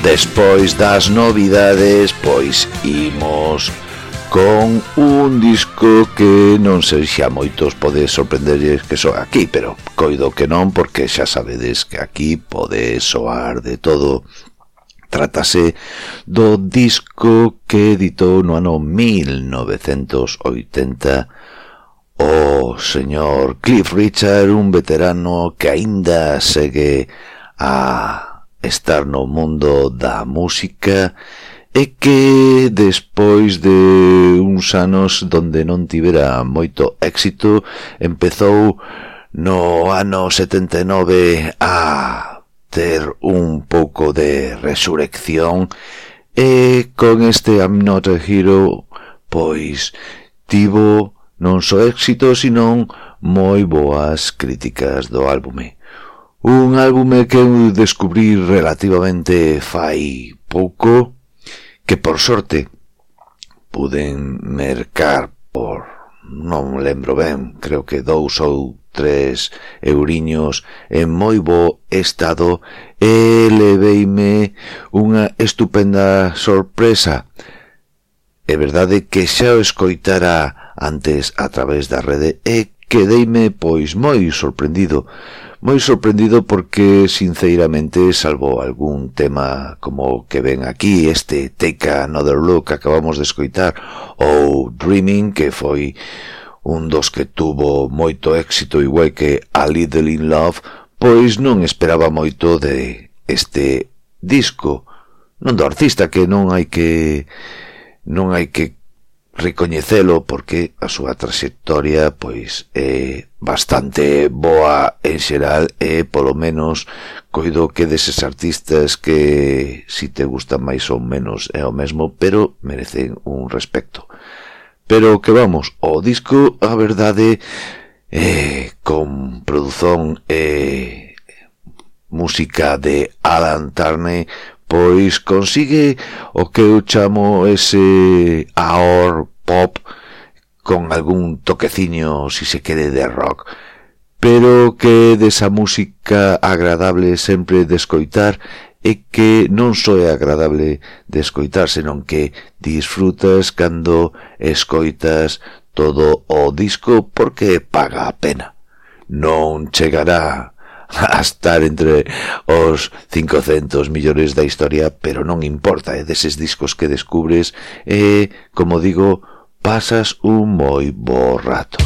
Despois das novidades, pois imos con un disco que non sei se a moitos pode sorprenderles que soa aquí, pero coido que non, porque xa sabedes que aquí pode soar de todo. Trátase do disco que editou no ano 1980 o señor Cliff Richard, un veterano que aínda segue a estar no mundo da música e que despois de uns anos donde non tivera moito éxito, empezou no ano 79 a ter un pouco de resurrección e con este I'm Not a Hero pois tivo non só éxito, senón moi boas críticas do álbume. Un álbume que eu descubrí relativamente fai pouco, que por sorte puden mercar por, non lembro ben, creo que 2 ou 3 euriños en moi bo estado, e leveime unha estupenda sorpresa. É verdade que xa o escoitara antes a través da rede e quedeime pois moi sorprendido porque sinceramente, salvo algún tema como que ven aquí, este Take Another Look que acabamos de escoitar, ou Dreaming, que foi un dos que tuvo moito éxito, igual que A Little in Love, pois non esperaba moito de este disco, non do artista, que non hai que recoñecelo, porque a súa traxectoria pois é bastante boa en xeral, e polo menos coido que deses artistas que si te gustan máis ou menos é o mesmo, pero merecen un respecto. Pero que vamos, o disco, a verdade, con produción e música de Alan Turner, pois consigue o que eu chamo ese aor pop con algún toqueciño, si se quere, de rock, pero que desa música agradable sempre de escoitar, e que non só é agradable de escoitar, senón que disfrutas cando escoitas todo o disco, porque paga a pena. Non chegará a estar entre os 500 millores da historia, pero non importa, é deses discos que descubres e, como digo, pasas un moi bo rato.